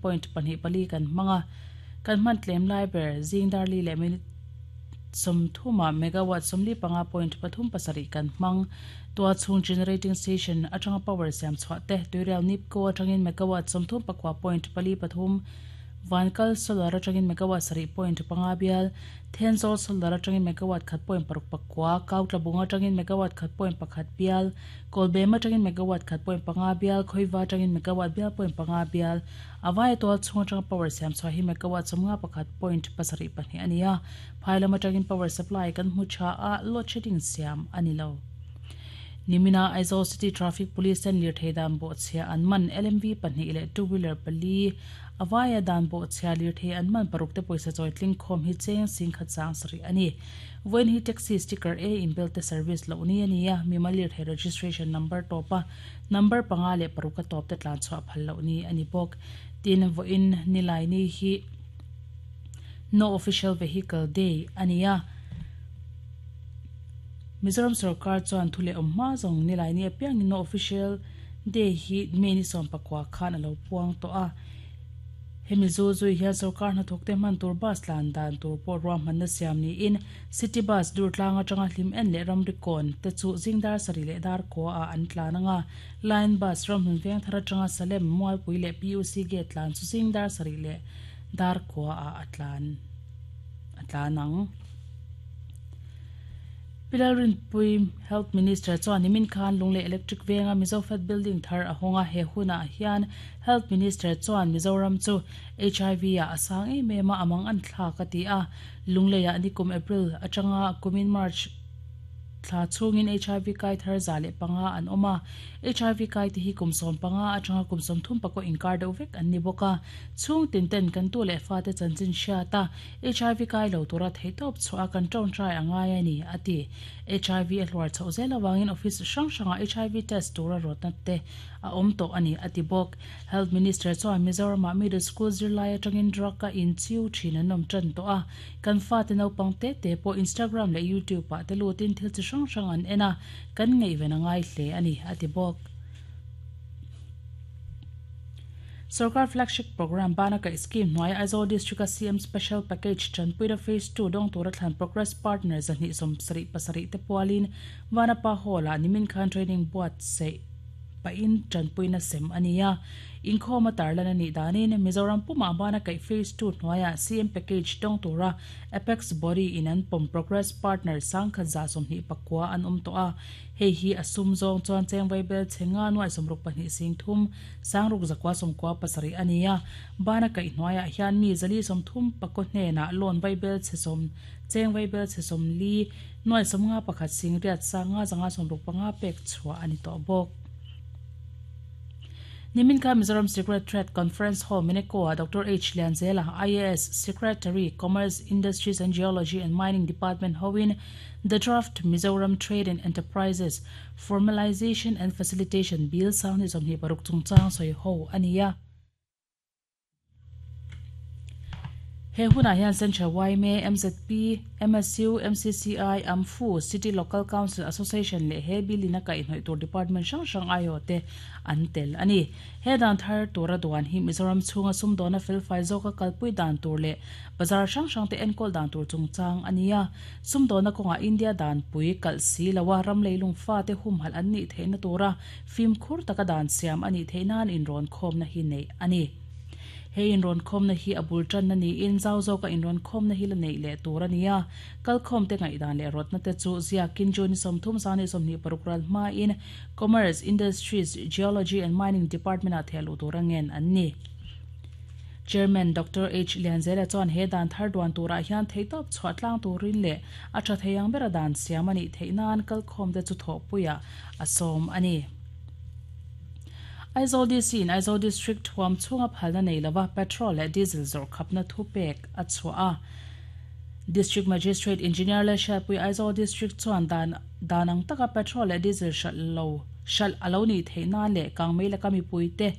Point pahnih pali kan hmang a, kan hman tlem lai ber zing dar li leh minute 30 ah megawatt 45 point pathum pasarih kan hmang. Tua chhung generating station atanga power siam chhuah te Tuirial Nipco atangin megawatt 39 point pali pathum, Vankal solar atangin megawatt sarih point panga bial, Thenzawl solar atangin megawatt khat point paruk pakua, Kautlabung atangin megawatt khat point pakhat bial, Kawlbem atangin megawatt khat point panga bial, Khawiva atangin megawatt bial point panga bial, a vaia tual chhung atanga power siam chhuah hi megawatt 51 point pasarih pahnih a ni a, phai lam atangin power supply kan hmu tha a, load shedding siam a ni lo. Nimina Aizawl City Traffic Police ten lirthei dan bawhchhia an man LMV pahnih leh two wheeler pali, A vaia dan bawhchhia lirthei an man paruk te pawisa chawi tling khawm hi cheng sing khat sang sarih a ni. Vawiin hi taxi sticker A inbel te service loh ni a ni a, mimal lirthei registration number tawp a number panga leh paruk a tawp te tlan chhuah phal loh ni a ni bawk. Tin, vawiin nilai ni hi No Official Vehicle Day a ni a, Mizoram sorkar chuan thu leh awm hma zawng nilai ni apiangin No Official Day hi May ni sawmpakua khan a lo puang tawh a. Hemi zu zui hian sorkar hnathawkte hman tur bus tlan dan tur pawh ruahmanna siam niin City Bus dur tlang atanga hlim en leh ramri kawn te chu zing dar sarih leh dar kua ah an tlan anga Line Bus ramhmun veng thar atanga Salem, Mualpui leh PUC Gate tlan chu zing dar sarih leh dar kua ah a tlan a tlan ang. Pi Lalrinpui, Health Minister chuan nimin khan Lunglei Electric Venga Mizofed Building thar a hawng a, he hunah hian Health Minister chuan Mizoram chu HIV ah a sang em em a, a mang an thlak a ti a. Lungleiah nikum April atanga kumin March thla chhungin HIV kai thar 105 an awm a, HIV kai te hi kum 15 atanga kum 30 pakua inkar deuh vek an ni bawk a. Chhung tin ten kan tu leh fate chanchin hriat a, HIV kai lo tura theihtawp chhuah a kan tawngtai a ngai a ni, a ti. HIV a hluar chhoh zel avangin office hrang hrangah HIV test tura rawtna te a awm tawh a ni, a ti bawk. Health Minister chuan Mizoramah middle school zirlai atangin drug a inchiu thin an awm tan tawh a, kan fate naupang te te pawh Instagram leh YouTube ah te lutin thil chi hrang hrang an en a, kan ngaihven a ngai hle a ni, a ti bawk. Sorkar Flagship Programme bana kaih scheme hnuaia Aizawl District-a CM Special Package tanpuina Phase Two dawng tura thlan Progress Partner 277 te pualin Vanapa Hall-ah nimin khan training buatsaih pahin tanpuina sem a ni a. Inkhawm a tarlan a nih danin Mizoram pumah bana kaih Phase Two hnuaia CM Package dawng tura Apex Body in an pawm Progress Partner 1129 an awm tawh a. Hei hi a sum zawng chuan cheng vaibel chhe nga nuai sawmruk pahnih sing thum sangruk zakua sawmkua pasarih a ni a. Bana kaih hnuaiah hian mi zali sawmthum pakaw hnenah loan vaibel chhe sawm cheng vaibel chhe sawmli nuai sawmnga pakhat sing riat sanga zanga sawmruk panga pek chhuah a ni tawh bawk. Nimin kha Mizoram Secret Trade Conference Hall Meneko-ah Doctor H. Lianzela, IAS, Secretary, Commerce, Industries and Geology and Mining Department hoin The Draft Mizoram Trade and Enterprises Formalisation and Facilitation Bill sanghnih 26 chungchang sawi ho a ni a. He hunah hian Central yma, MZP, MSU, MCCI, AMFU, City Local Council Association leh he bill in a kaihhnawih tur department hrang hrang aiawh te an tel a ni. He dan thar tura duan hi Mizoram chhunga sumdawna felfai zawka kalpui dan tur leh bazar hrang hrang te enkawl dan tur chungchang a ni a. Sumdawna kawngah India danpui kalh si loa ram leilung fate humhalh an nih theihna tura fimkhur taka dan siam a nih theih nan inrawn khawmna hi neih a ni. He inrawn khawmna hi a bul tanna niin zau zawka inrawn khawmna hi la neih leh tur a ni a. Kalkhawmte ngaihdan leh rawtna te chu ziakin June 30 zan 26 ral hmain Commerce, Industries, Geology and Mining Department-ah thehluh tura ngen an ni. Chairman Doctor H. Lianzela chuan he dan thar duan turah hian theihtawp chhuah tlang turin leh a tha thei ang bera dan siam a nih theih nan kalkhawmte chu thawhpuiah a sawm a ni. Aizawl DC in Aizawl District thuam chhunga phalna nei lova petrol leh diesel zawrh khapna thupek a chhuah a. District Magistrate Engineer Lalhriatpui Aizawl District chuan dan dan ang taka petrol leh diesel hralh lo hralh a lo nih theih nan leh kangmei laka mipuite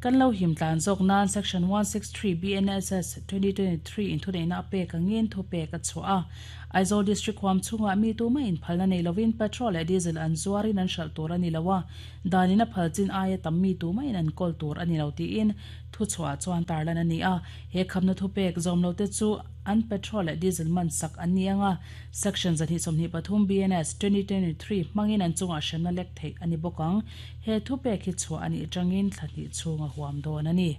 Kan lo him tlan zawk nan Section 163 BNSS 2023 in thuneihna a pek angin thupek a chhuah a. Aizawl District huam chhungah mi tumah inphalna nei lovin petrol leh diesel an zuarin an hralh tur a ni lo a, danin a phal chin aia tam mi tumah in an kawl tur a ni lo tiin thuchhuah chuan tarlan a ni a. He khamna thupek zawm lote chu an petrol leh diesel man sak an ni ang a, Section 223 BNS, 2023 hmangin an chungah hremna lek theih a ni bawk ang. He thupek hi chhuah a nih atangin thla hnih chhung a huam dawn a ni.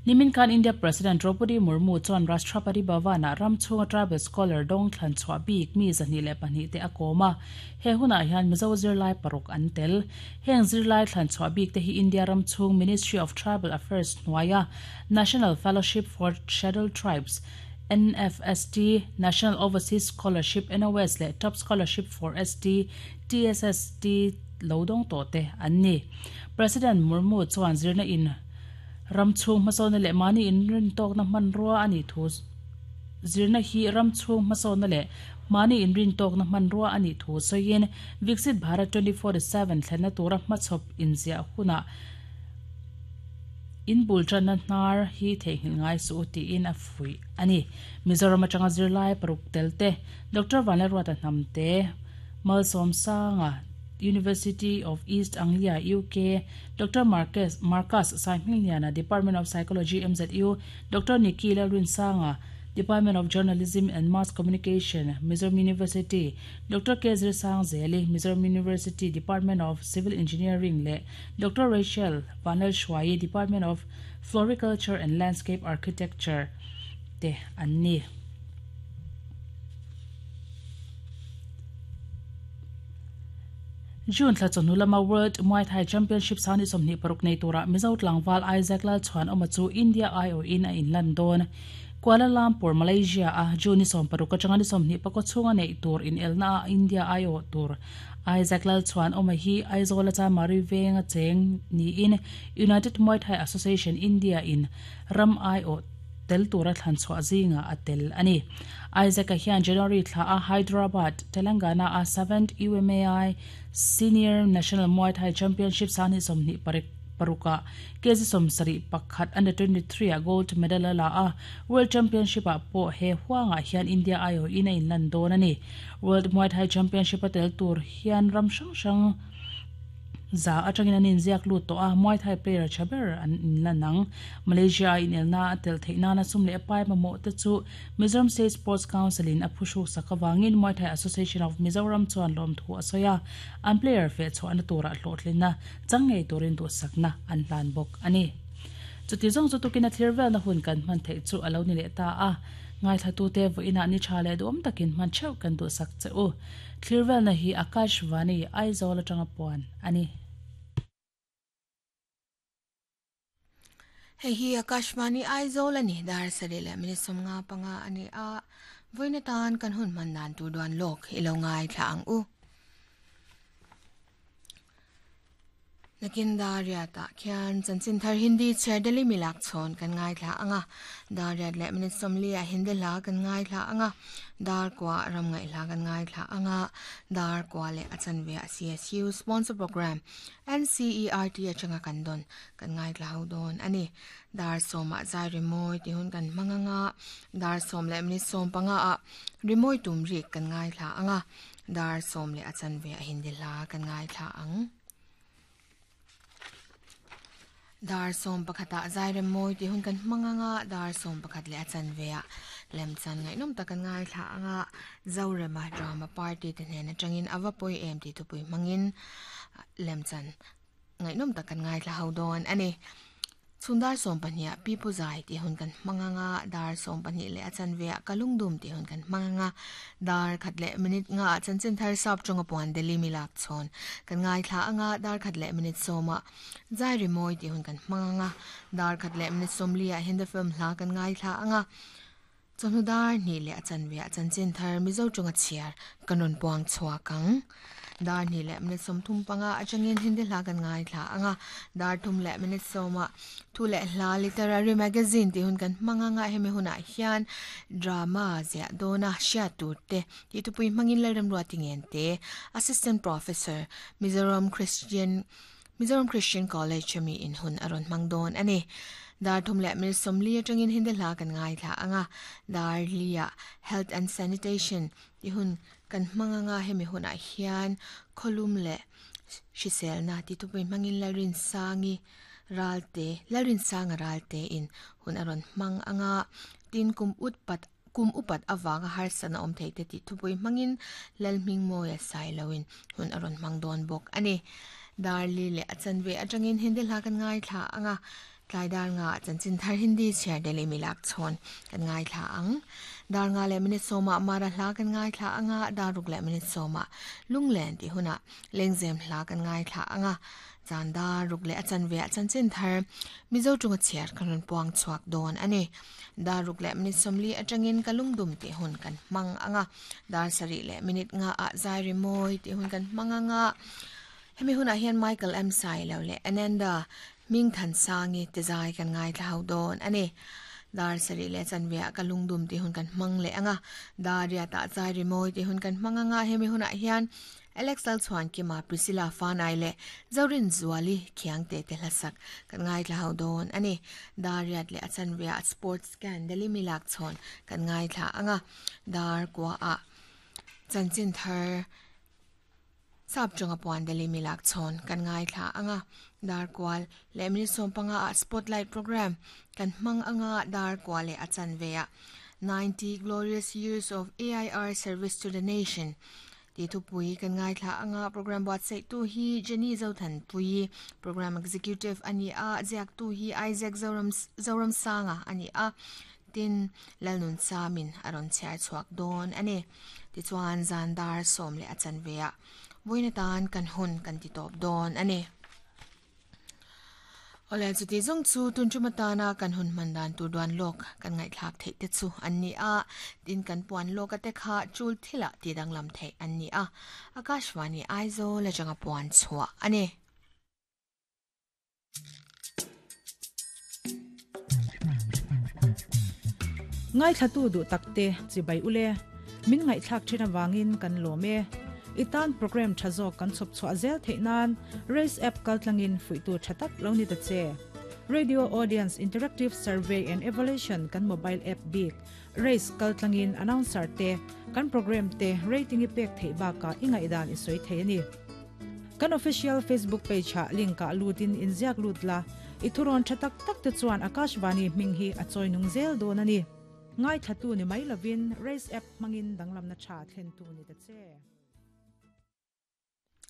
Nimin khan India President Droupadi Murmu chuan Rashtrapati Bhavan-ah ram chhunga tribal scholar dawng thlan chhuah bik mi 202 te a kawm a. He hunah hian Mizo zirlai paruk an tel. Heng zirlai thlan chhuah bik te hi India ram chhung Ministry of Tribal Affairs hnuaia National Fellowship for Scheduled Tribes, NFST, National Overseas Scholarship, NOS, leh Top Scholarship for ST, TSST, lo dawng tawh te an ni. President Murmu chuan zirna in ram chhung hmasawnna leh mahni inrintawkna hmanrua a nih thu zirna hi ram chhung hmasawnna leh mahni inrintawkna hmanrua a nih thu sawiin Viksit Bharat 2047 thlenna tura hmachhawp inziah hunah in bul tanna hnar hi theihnghilh ngai suh u tiin a fuih a ni. Mizoram atanga zirlai paruk tel te Doctor Vanlalruata Hnamte, Malsawmsanga, University of East Anglia, UK, Doctor Marcus Marcus Saihmingliana, Department of Psychology, MZU, Doctor Nikki Lalrinsanga, Department of Journalism and Mass Communication, Mizoram University, Doctor K Zirsangzeli, Mizoram University, Department of Civil Engineering leh Doctor Rachel Vanlalhruaii, Department of Floriculture and Landscape Architecture te an ni. June thla chawhnu lama World Muay Thai Championship sangni 26 nei turah Mizo tlangval Isaac Lalchhuanawma chu India aiawhin a inlan dawn. Kuala Lumpur, Malaysia a June ni 16 atanga ni 24 chhunga neih tur inelna ah India aiawh tur Isaac Lalchhuanawma hi Aizawl a Chamari venga cheng niin United Muay Thai Association India in ram aiawh tel tura thlan chhuah zingah a tel a ni. Isaac-a hian January thla a Hyderabad, Telangana a 7th UMAI Senior National Muay Thai Championship sangni 26 ah kg 71 Under 23 ah gold medal a la a, World Championship ah pawh he huangah hian India aiawhin a inlan dawn a ni. World Muay Thai Championship a tel tur hian ram hrang hrang za atangin an inziak lut tawh a, Muay Thai player tha ber an inlan ang. Malaysia a inelna a tel theih nana sum leh pai mamawh te chu Mizoram State Sports Council in a phuhruk sak avangin Muay Thai Association of Mizoram chuan lawmthu a sawi a, an player feh chhuahna turah hlawhtlinna chang ngei turin duhsakna an hlan bawk a ni. Chuti zawng chu tukin a thlir velna hun kan hman theih chu a lo ni leh ta a, ngaithlatute vawiinah ni tha leh duhawm takin hman theuh kan duhsak che u. Thlir velna hi Akash Vani, Aizawl atanga puan a ni. Hei hi Akashvani Aizawl a ni, dar sarih leh minute 55 a ni a, vawiin atan kan hun hman dan tur duan lawk i lo ngaithla ang u. Nakin dar riatah khian chanchin thar Hindi chhiar Delhi milak chhawn kan ngaithla ang a, dar riat leh minute 40 ah Hindi hla kan ngaithla ang a, dar kua ram ngaih hla kan ngaithla ang a, dar kua leh a chanve ah CSU sponsor program NCERT atanga kan dawn kan ngaithla ho dawn a ni. Dar sawmah zai rimawi tih hun kan hmang ang a, dar sawm leh minute 15 ah rimawi tum rik kan ngaithla ang a, Dar sawm leh a chanve a Hindi hla kan ngaithla ang. Dar sawm pakhatah Zairem mawi tih hun kan hmang ang a, dar sawm pakhat leh a chanve ah lemchan ngaihnawm tak kan ngaithla ang a, Zorema drama party te hnen atangin a va pawi em tih thupui hmangin lemchan ngaihnawm tak kan ngaithla ho dawn a ni. Chhun dar 12 ah Pi Pu Zai tih hun kan hmang ang a, dar 12 leh a chanve ah Ka Lungdum tih hun kan hmang ang a, dar khat leh minute nga ah Chanchin Thar Sap Tawnga Puan Delhi mi lak chhawn kan ngaithla ang a, dar khat leh minute 10 ah Zai Rimawi tih hun kan hmang ang a, dar khat leh minute 40 ah Hindi film hla kan ngaithla ang a, Chawhnu dar hnih leh a chanve ah chanchin thar Mizo tawnga chhiar kan rawn puang chhuak ang. Dar hnih leh minute 35 atangin Hindi hla kan ngaithla ang a, dar thum leh minute 10 ah thu leh hla literary magazine tih hun kan hmang ang a, hemi hunah hian drama ziah dawna hriat tur te tih thupui hmangin Lalremruati Ngente, Assistant Professor, Mizoram Christian Mizoram Christian College ami in hun a rawn hmang dawn a ni. Dar thum leh minute 40 atangin Hindi hla kan ngaithla ang a, dar liah Health and Sanitation tih hun kan hmang ang a, hemi hunah hian khawlum leh hriselna tih thupui hmangin Lalrinsangi. Ralte Lalrinsanga Ralte in hun a rawn hmang anga tin kum ut pat kum upat awanga harsatna awm thei te tih thupui hmangin Lalhmingmawia Sailoin hun a rawn hmang dawn bawk ani. Dar li leh a chanve atangin Hindi hla kan ngaithla anga tlai dar nga chanchin thar Hindi chhiar Delhi milak chhawn kan ngaithla ang. Dar nga leh minute sawmah Mara hla kan ngaithla anga dar ruk leh minute sawmah Lunglen tih hunah Lengzem hla kan ngaithla anga zan dar ruk leh a chanve a chanchin thar Mizo tunga chhiar kan rawn puang chhuak dawn ani. Dar ruk leh minute sawmli atangin ka lungdum tih hun kan hmang anga dar sarih leh minute nga ah zai ri mawi tih hun kan hmang anga hemi hunah hian Michael M Sailo leh Ananda Hmingthansangi te zai kan ngaithla ho dawn ani. Dar sarih leh chanve ah ka lungdum tih hun kan hmang leh anga dar riat ah zai ri mawi tih hun kan hmang anga hemi hunah hian Alex Lalchhuankima, Priscilla Fanai leh Zorin Zuali Khiangte te hlasak kan ngaithla ho dawn ani. Dar riat leh a chanve ah sports scan Delhi milak chhawn kan ngaithla anga dar kua ah chanchin thar sap tawnga puan Delhi milak chhawn kan ngaithla anga dar kual leh minute 15 ah spotlight program kan hmang anga dar kua leh a chanve ah 90 glorious years of AIR service to the nation ti thupui kan ngaithla anga program buatsaih tu hi Jenny Zothan pui program executive ani a ziak tu hi Isaac Zoram Zoram Sanga ani a tin Lalnun Samin a rawn chhiar chhuak dawn ani. Tichuan zan dar sawm leh a chanve ah vawiin atan kan hun kan ti tawp dawn ani. Awle chuti zawng chu tun tum atana kan hun hman dan tur duan lawk kan ngaihthlak theih te chu an ni a, tin kan puan lawk a te kha chul thilah ti danglam theih an ni a, Akashvani Aizawl atanga puan chhuah ani. Ngaithla tu duh takte chibai ule min ngaihthlak thin awangin kan lawm e. Itan program tha zawk kan chhawp chhuah zel theih nan Race app kaltlangin fuihtu tha tak lo ni ta che. Radio Audience Interactive Survey and Evaluation kan mobile app bik Race kaltlangin announcer te kan program te rating i pek theih bakah i ngaihdan i sawi thei ani. Kan official Facebook page ah link ah lutin inziak lut la, i thurawn tha tak tak te chuan Akashvani hming hi a chawi nung zel dawn ani. Ngaithla tu ni mai lovin Race app hmangin danglamna tha thlen tu ni ta che.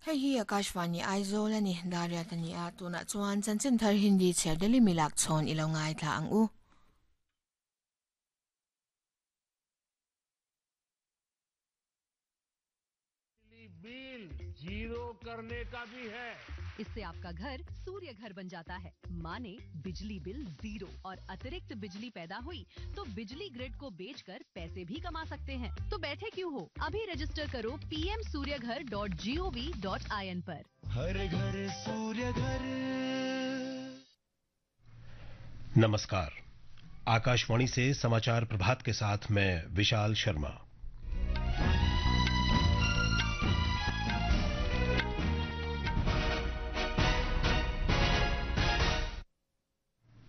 Hei hi Akashvani Aizawl ani, Dariat ani a, tunah chuan chanchin thar Hindi chhiar Delhi milak chhawn i lo ngaithla ang u. Bill zero करने का भी है। इससे आपका घर सूर्य घर बन जाता है, माने बिजली बिल जीरो और अतिरिक्त बिजली पैदा हुई तो बिजली ग्रिड को बेचकर पैसे भी कमा सकते हैं। तो बैठे क्यों हो, अभी रजिस्टर करो pmsuryaghar.gov.in पर। हर घर सूर्य घर। नमस्कार, आकाशवाणी से समाचार प्रभात के साथ मैं विशाल शर्मा।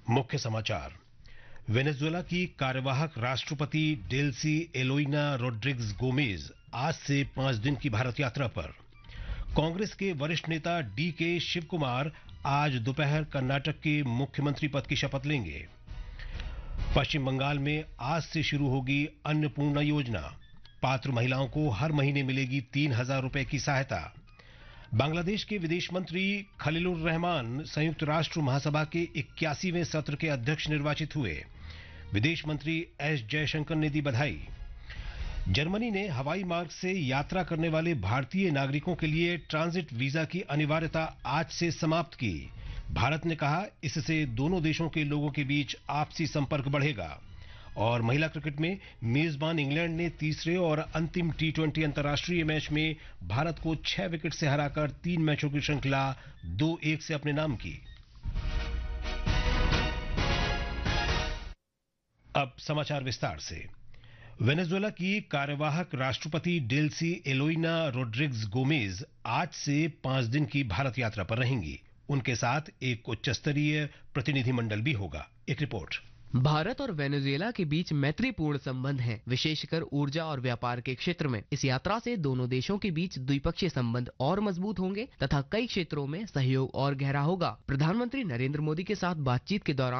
मुख्य समाचार। वेनेजुएला की कार्यवाहक राष्ट्रपति Delcy Eloina Rodriguez Gomez आज से 5 दिन की भारत यात्रा पर। कांग्रेस के वरिष्ठ नेता डी के शिवकुमार आज दोपहर कर्नाटक के मुख्यमंत्री पद की शपथ लेंगे। पश्चिम बंगाल में आज से शुरू होगी अन्नपूर्णा योजना। पात्र महिलाओं को हर महीने मिलेगी 3000 रुपए की सहायता। बांग्लादेश के विदेश मंत्री खलीलुर रहमान संयुक्त राष्ट्र महासभा के 81वें सत्र के अध्यक्ष निर्वाचित हुए। विदेश मंत्री एस जयशंकर ने दी बधाई। जर्मनी ने हवाई मार्ग से यात्रा करने वाले भारतीय नागरिकों के लिए ट्रांजिट वीजा की अनिवार्यता आज से समाप्त की। भारत ने कहा इससे दोनों देशों के लोगों के बीच आपसी संपर्क बढ़ेगा। और महिला क्रिकेट में मेजबान इंग्लैंड ने तीसरे और अंतिम टी20 अंतर्राष्ट्रीय मैच में भारत को 6 विकेट से हराकर 3 मैचों की श्रृंखला 2-1 से अपने नाम की। अब समाचार विस्तार से। वेनेजुएला की कार्यवाहक राष्ट्रपति Delcy Eloina Rodriguez Gomez आज से 5 दिन की भारत यात्रा पर रहेंगी। उनके साथ एक उच्चस्तरीय प्रतिनिधिमंडल भी होगा। एक रिपोर्ट। Bharat और वेनेजुएला के बीच मैत्रीपूर्ण संबंध हैं, विशेषकर ऊर्जा और व्यापार के क्षेत्र में। इस यात्रा से दोनों देशों के बीच द्विपक्षीय संबंध और मजबूत होंगे तथा कई क्षेत्रों में सहयोग और गहरा होगा। प्रधानमंत्री नरेंद्र मोदी के साथ बातचीत के दौरान